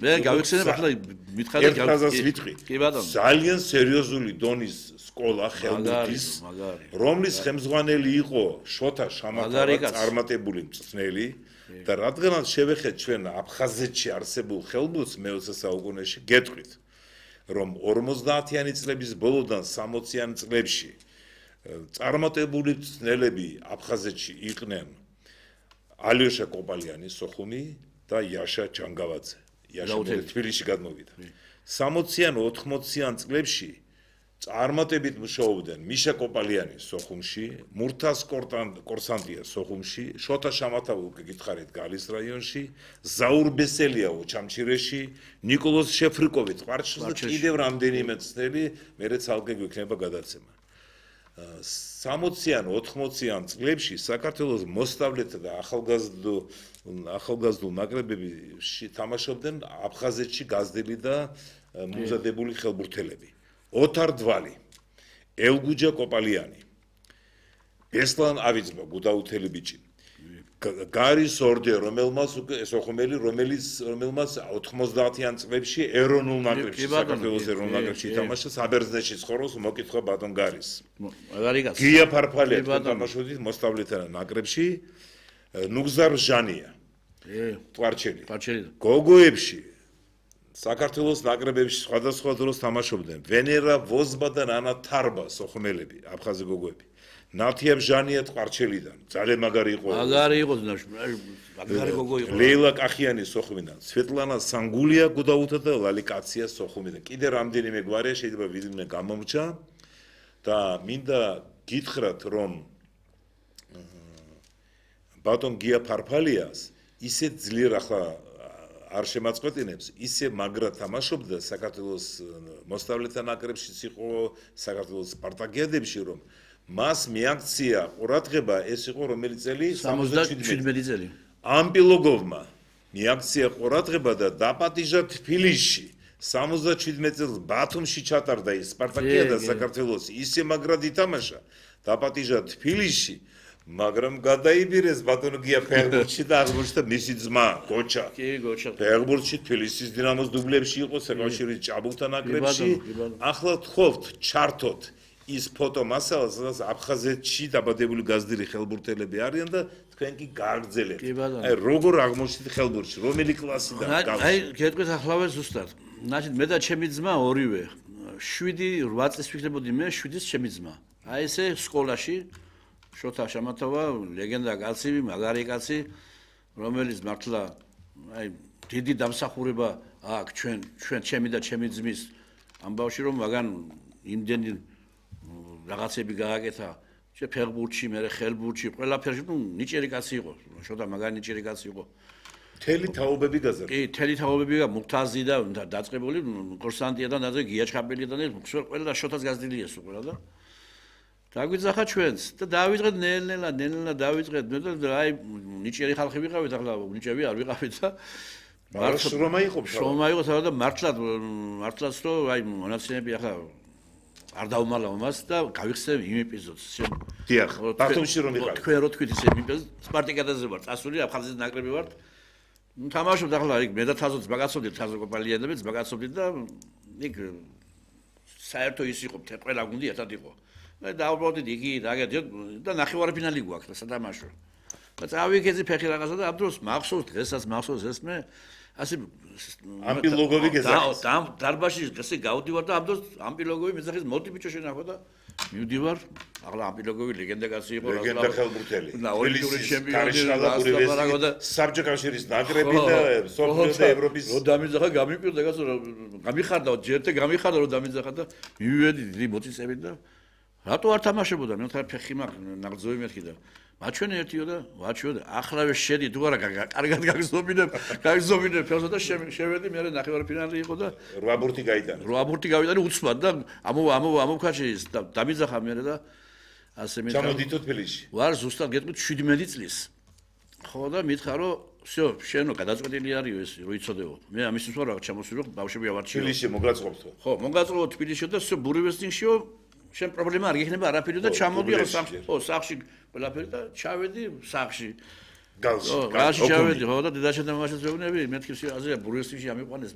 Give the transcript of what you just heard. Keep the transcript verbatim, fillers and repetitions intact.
მე გავიხსენებ ახლა მითხარით ფაზას ვიტყვი. კი ბატონო. ძალიან სერიოზული დონის სკოლა ხელმუქის, რომლის ხელმძღვანელი იყო შოთა შამათავა, წარმატებული მწვრთნელი და რადგანაც შევეხეთ ჩვენ აფხაზეთში არსებულ ხელბურთს მეოცე საუკუნეში, გეტყვით, რომ ორმოცდაათიანი წლების ბოლოდან სამოციანი წლებში წარმატებული მწვრთნელები აფხაზეთში იყვნენ ალიოშა კოპალიანი სოხუმი და იაშა ჯანგავაძე. იაშა თბილისში გადმოვიდა. სამოციან ოთხმოციან წლებში წარმატებით მუშაობდნენ მიშა კოპალიანი სოხუმში, მურთას კორსანტია სოხუმში, შოთა შამათავა უკვე გითხარით გალის რაიონში, ზაურ ბესელიაო ჩამჩირეში, ნიკოლოზ შეფრიკოვი ტყვარჩელში და კიდევ რამდენიმე მწვრთნელი, მერე ცალკე გვექნება გადაცემა. სამოციან ოთხმოციან წლებში საქართველოს მოსწავლეთა და ახალგაზრდულ ახალგაზრდულ ნაკრებებში თამაშობდნენ აფხაზეთში გაზრდილი და მომზადებული ხელბურთელები. ოთარ დვალი, ელგუჯა კოპალიანი, ბესლან ავიძმა გუდაუთელი ბიჭი, გარის ორდე, რომელმაც უკვე სოხუმელი, რომელიც რომელმაც ოთხმოცდაათიან წლებში ეროვნულ ნაკრებში, საქართველოს ეროვნულ ნაკრებში ითამაშა, საბერძნეთში ცხოვრობს, მოკითხა ბატონ გარის. გია ფარფალია თამაშობდით მოსწავლეთა ნაკრებში, ნუგზარ ჟანია. ტვარჩელი. გოგოებში საქართველოს ნაკრებებში სხვადასხვა დროს თამაშობდნენ ვენერა ვოზბა და ნანა თარბა სოხუმელები, აფხაზი გოგოები. ნათიაბ ჟანია ტყარჩელიდან, ძალიან მაგარი იყო. მაგარი იყო, მაგარი გოგო იყო. ლეილა კახიანი სოხუმიდან, სვეტლანა სანგულია გუდაუთა და ლალი კაცია სოხუმიდან. კიდე რამდენიმე გვარია შეიძლება ვიდმე გამომრჩა და მინდა გითხრათ, რომ ბატონ გია ფარფალიას ისე ძლიერ ახლა არ შემაწყვეტინებს, ისე მაგრა თამაშობდა საქართველოს მოსწავლეთა ნაკრებშიც იყო, საქართველოს სპარტაკიადებში, რომ მას მიაქცია ყურადღება, ეს იყო რომელი წელი? სამოცდაშვიდი წელი. ამპილოგოვმა მიაქცია ყურადღება და დაპატიჟა თბილისში. სამოცდაშვიდმეტ წელს ბათუმში ჩატარდა ის სპარტაკიადა საქართველოს, ისე მაგრად ითამაშა, დაპატიჟა თბილისში. მაგრამ გადაიბირეს ბატონო გია ფეხბურთში და აღმოჩნდა მისი ძმა გოჩა. კი, გოჩა. ფეხბურთში თბილისის დინამოს დუბლებში იყო საკავშირის ჭაბუკთა ნაკრებში. ახლა თხოვთ, ჩართოთ ის ფოტო მასალა, სადაც აფხაზეთში დაბადებული გაზრდილი ხელბურთელები არიან და თქვენ კი გააგრძელებთ. აი როგორ აღმოჩნდით ხელბურთში, რომელი კლასიდან გავს? აი, გეტყვით ახლავე ზუსტად. ნახეთ, მე და ჩემი ძმა ორივე. შვიდი რვა წლის ვიქნებოდი მე, შვიდის ჩემი ძმა. აი ესე სკოლაში შოთა შამათავა, ლეგენდა კაცი, მაგარი კაცი, რომელიც მართლა აი დიდი დამსახურება აქვს ჩვენ ჩვენ ჩემი და ჩემი ძმის ამბავში, რომ მაგან იმდენი რაღაცები გააკეთა, შე ფეხბურთში, მე ხელბურთში, ყველაფერში, ნუ ნიჭიერი კაცი იყო, შოთა მაგარი ნიჭიერი კაცი იყო. თელი თაობები გაზარდა. კი, თელი თაობები და მუხტაზი და დაწყებული კორსანტია და ნაზე გიაჩხაბელი და ყველა შოთას გაზრდილია სულ ყველა და დაგვიძახა ჩვენს და დავიწყეთ ნელ-ნელა, ნელ-ნელა დავიწყეთ. მე და აი ნიჭიერი ხალხი ვიყავით, ახლა ნიჭები არ ვიყავით და მართლა შრომა იყო, შრომა იყო თავად და მართლა მართლაც რომ აი მონაცემები ახლა არ დავმალავ მას და გავიხსენებ იმ ეპიზოდს. დიახ, ბათუმში რომ ვიყავით. თქვენ რო თქვით ეს ეპიზოდი, სპარტაკიადაზე ვარ, წასული აფხაზეთის ნაკრები ვარ. თამაშობთ ახლა იქ მე და თაზოც მაგაცობდით, თაზო კოპალიანებიც მაგაცობდით და იქ საერთო ის იყო, ყველა გუნდი ერთად იყო. და დავბრუნდით იგი და ნახევარფინალი გვაქვს და სათამაშო. და წავიქეცი ფეხი რაღაცა და ამ დროს მახსოვს დღესაც მახსოვს ეს მე ასე ამპილოგოვი გეზახის. და დარბაზში ესე გავდივარ და ამ დროს ამპილოგოვი მეძახის მოდი ბიჭო შენახო და მივდივარ. ახლა ამპილოგოვი ლეგენდა კაცი იყო, ლეგენდა ხელბურთელი. ოლიმპიური ჩემპიონი და საბჭოთა კავშირის ნაკრები და სოფლიო და ევროპის. რო დამიძახა გამიკვირდა კაცო, გამიხარდა, ჯერტე გამიხარდა რო დამიძახა და მივედი დიდი მოწიწებით და რატო არ თამაშებოდა? მე თქვა ფეხი მაქვს, ნაღრძოვი მეთქი და მაჩვენე ერთიო და ვაჩვენე, ახლავე შედი თუ არა, კარგად გაგზნობინებ, გაგზნობინებ ფეხსა და შევედი, მე ნახევარფინალი იყო და რვა ბურთი გაიტანა. რვა ბურთი გავიტანე უცბად და ამო ამო ამოქაჩი დამიძახა მე და ასე მე ჩამოდითო თბილისში. ვარ ზუსტად გეტყვით შვიდმეტი წლის. ხო და მითხა რომ всё, შენო გადაწყვეტილი არისო ეს რო იცოდეო. მე ამისთვის ვარ რაღაც ჩამოსულიყ, ბავშვები ავარჩიო. თბილისში მოგაწყობთო. ხო, მოგაწყობ თბილისში და всё ბურევესტინშიო. შენ პრობლემა არ გექნება არაფერი და ჩამოდი ახლა სახლში. ხო, სახლში ყველაფერი და ჩავედი სახლში. გალში. გალში ჩავედი, ხო და დედაშენ და მამაშენ ზეუნები, მეთქი აზია ბურგესში ამიყვანეს.